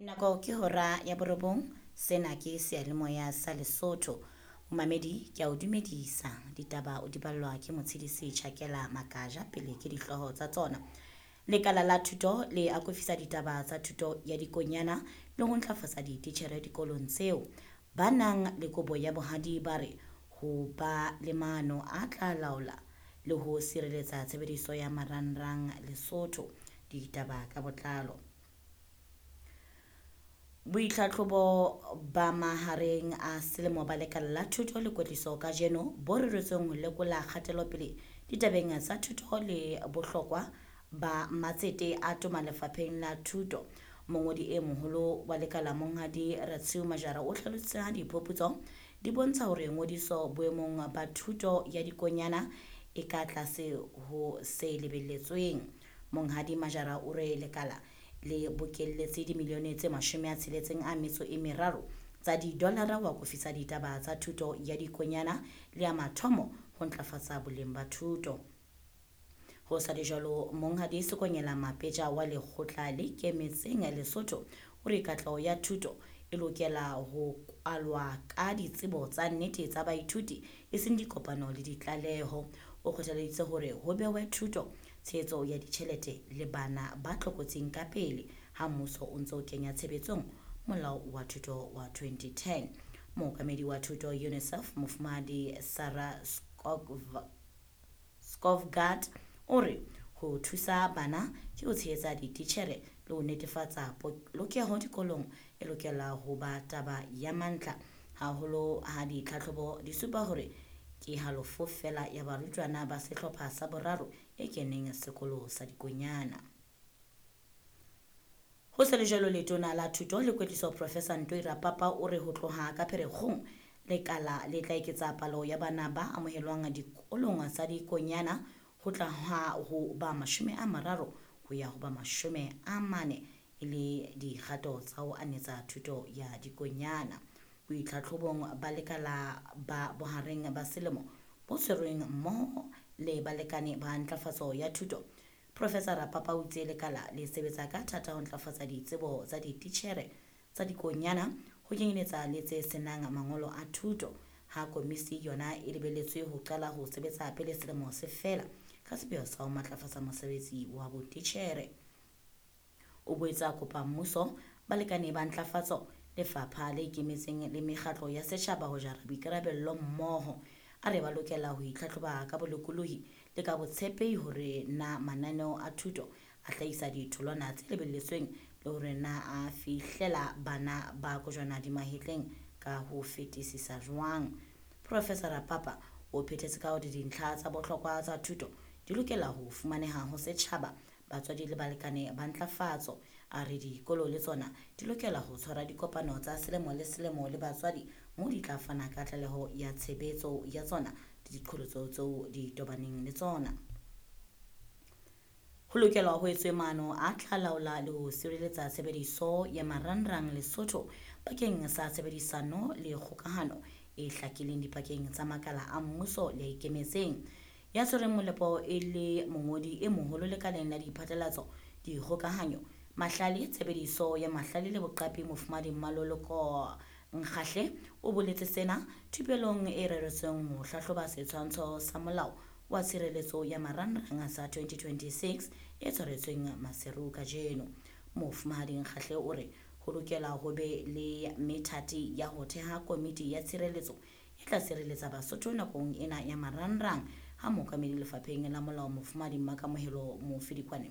Nako ke hora ya borobong, sena ke seyalemoya sa Lesotho. Momamedi ke a o dumedisa, ditaba o di ballwa ke Motshidisi Tjhakela Makaja pele ke dihlooho tsa tsona. Lekala la thuto le akofisa ditaba tsa thuto ya dikonyana le ho ntlafatsa dititjhere dikolong tseo. Ba nang le kobo ya bohadi ba re ho ba le maano a tla laola le ho sireletsa tshebediso ya marangrang Lesotho. Ditaba ka botlalo. Boitlhatlhobo ba mahareng a selemo ba lekala la thuto le kwetliso kajeno bo reretsweng ho lekola kgatelopele ditabeng tsa thuto le bohlokwa ba matsete a toma lefapheng la thuto. Mongodi e moholo wa lekala Monghadi Ratshiu Majara o hlalositse ha diphuputso di bontsha hore ngodiso boemong ba thuto ya dikonyana e ka tlase ho se lebelletsweng. Monghadi Majara o re lekala le bokelletse dimilione tse 63 tsa didolara ho akofisa ditaba tsa thuto ya dikonyana le ya mathomo ho ntlafatsa boleng ba thuto. Ho sa le jwalo, Monghadi Sekonyela Mapetja wa lekgotla le ikemetseng Lesotho o re katleho ya thuto e lokela ho kwalwa ka ditsebo tsa nnete tsa baithuti e seng dikopano le ditlaleho. O kgothaleditse hore ho behwe thuto, tshehetso ya ditjhelete le bana ba tlokotsing ka pele ha mmuso o ntse o kenya tshebetsong molao wa thuto wa 2010. Mookamedi wa thuto UNICEF Mofumahadi Sarah Skovgaard o re ho thusa bana ke ho tshehetsa dititjhere le ho netefatsa polokeho dikolong e lokela ho ba taba ya mantlha haholo ha ditlhatlhobo di supa hore ke halofo feela ya barutwana ba sehlopha sa boraro e keneng sekolo sa dikonyana. Ho se le jwalo, letona la thuto le kwetliso Professor Ntoi Rapapa o re ho tloha ka Pherekgong lekala le tla eketsa palo ya bana ba amohelwang dikolong tsa dikonyana ho tla ho ba 30 ho ya ho ba 40 e le dikgato tsa ho anetsa thuto ya dikonyana. Boitlhatlhobong ba lekala ba bohareng ba selemo bo tshwerweng mmoho le balekane ba ntlafatso ya thuto, Professor Rapapa o itse lekala le sebetsa ka thata ho ntlafatsa ditsebo tsa dititjhere tsa dikonyana ho kenyeletsa le tse senang mangolo a thuto, ha komisi yona e lebelletswe ho qala ho sebetsa pele selemo se fela ka sepheo sa ho matlafatsa mosebetsi wa botitjhere. O boetse a kopa mmuso, balekane ba ntlafatso, lefapha le ikemetseng le mekgatlo ya setjhaba ho jara boikarabello mmoho. A re ba lokela ho itlhatlhoba ka bolokolohi le ka botshepehi hore na mananeo a thuto a hlahisa ditholwana tse lebelletsweng le hore na a fihlela bana ba kojwana di mahetleng ka ho fetisisa jwang. Professor Rapapa o phethetse ka hore dintlha tsa bohlokwa tsa thuto di lokela ho fumaneha ho setjhaba, batswadi le balekane ba ntlafatso. A re dikolo le tsona di lokela ho tshwara dikopano tsa selemo le selemo le batswadi moo di tla fana ka tlaleho ya tshebetso ya tsona le diqholotso tseo di tobaneng le tsona. Ho lokelwa ho etswe maano a tla laola le ho sireletsa tshebediso ya marangrang Lesotho bakeng sa tshebedisano le kgokahano e hlakileng dipakeng tsa makala a mmuso le a ikemetseng. Ya tshwereng molepo e le mongodi e moholo lekaleng la diphatlalatso, dikgokahanyo, mahlale, tshebediso ya mahlale le boqapi Mofumahadi Mmaloloko Nkgahle o boletse sena thupelong e reretsweng ho hlahloba setshwantsho sa molao wa tshireletso ya marangrang sa 2026 e tshwaretsweng Maseru kajeno. Mofumahadi Nkgahle o re ho lokela ho be le methati ya ho theha komiti ya tshireletso e tla sireletsa Basotho nakong ena ya marangrang ha mookamedi lefapheng la molao Mofumahadi Mmakamohelo Mofidikwane